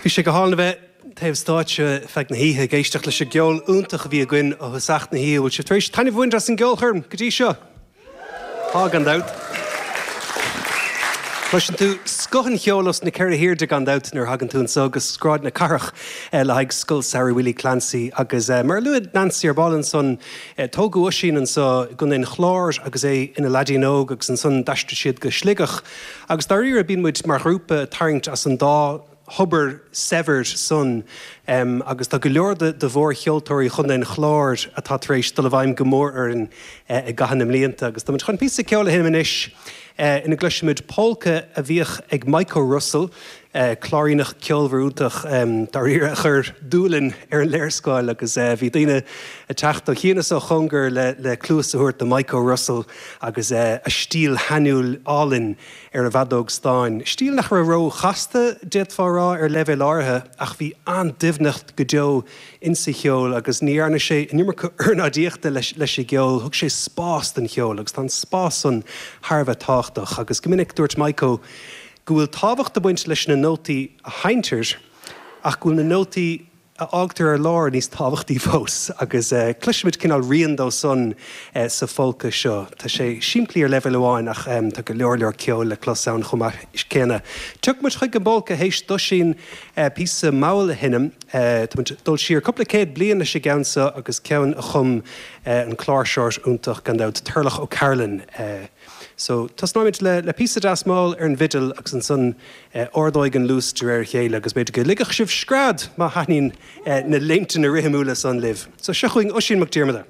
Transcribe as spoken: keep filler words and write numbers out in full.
Bhí sé go hálainn a bheith taobh stáitse feadh na hoíche ag éisteacht leis an gceol iontach a bhí againn ó thosach na hoíche bhfuil sibh tar éis taitneamh a bhaint as an gceolchoirm go dtí seo. Tá gan dabht. Cloiseann tú scoth an cheoil os na ceithre hairde gan dabht nuair a thagann tú anseo go Sráid na Cathrach eh, le haghaidh Scoil Samhraidh Willie Clancy agus eh, mar a luaigh Nancy ar ball ansan eh, tógadh Oisín anseo i gContae an Chláir agus é ina leaidín óg agus ansan d'aistrigh siad go Sligeach. Agus dáiríre bíonn muid mar ghrúpa ag tarraingt as an dá thobar saibhir san um, agus tá go leor de, de mhórcheoltóirí Chontae an Chláir atá tar éis dul i bhfeidhm go mór orainn uh, i gcaitheamh na mblianta, agus tá chun píosa ceoil a sheinm anois uh, ina gcloisfimid polca a bhíodh ag Michael Russell, uh, cláiríneach ceolmhar iontach um, dáiríre a chuir Dúlainn ar an léarscáil agus uh, bhí daoine ag teacht ó chian is ó chóngar le, le cluas a thabhairt do Michael Russell agus uh, a stíl shainiúil álainn ar a bhfeadóg stáin. Stíl nach raibh róchasta d'fhéadfá a rá ar leibhéal áirithe ach bhí an-doimhneacht go deo insa cheol agus ní dhearna sé an iomarca ornáidíochta leis, leis an gceol, thug sé spás don cheol agus tá an spás san thar a bheith tábhachtach agus go minic dúirt Michael go bhfuil tábhacht ag baint leis na nótaí a sheinntear ach go bhfuil na nótaí a fhágtar ar lár níos tábhachtaí fós agus uh, cloisfimid cineál rian dó san uh, sa pholca seo. Tá sé simplí ar leibhéal amháin ach um, tá go leor leor ceol le clos ann chomh maith céanna. Tiocfaidh muid chuig an bpolca théis d'Oisín uh, píosa mall a sheinm uh, dul siar cúpla céad bliain leis an gceann seo agus ceann a chum uh, an cláirseoir iontach gan dabht Turlough O'Carolan. Uh, So tosnóimid le, le píosa deas mall ar an bhfidil agus ansan uh, ardóidh an luas de réir a chéile agus b'fhéidir go ligfidh sibh scread má thaitníonn uh, na léimteanna rithimiúla san libh. So seo chugainn Oisín Mac Diarmada.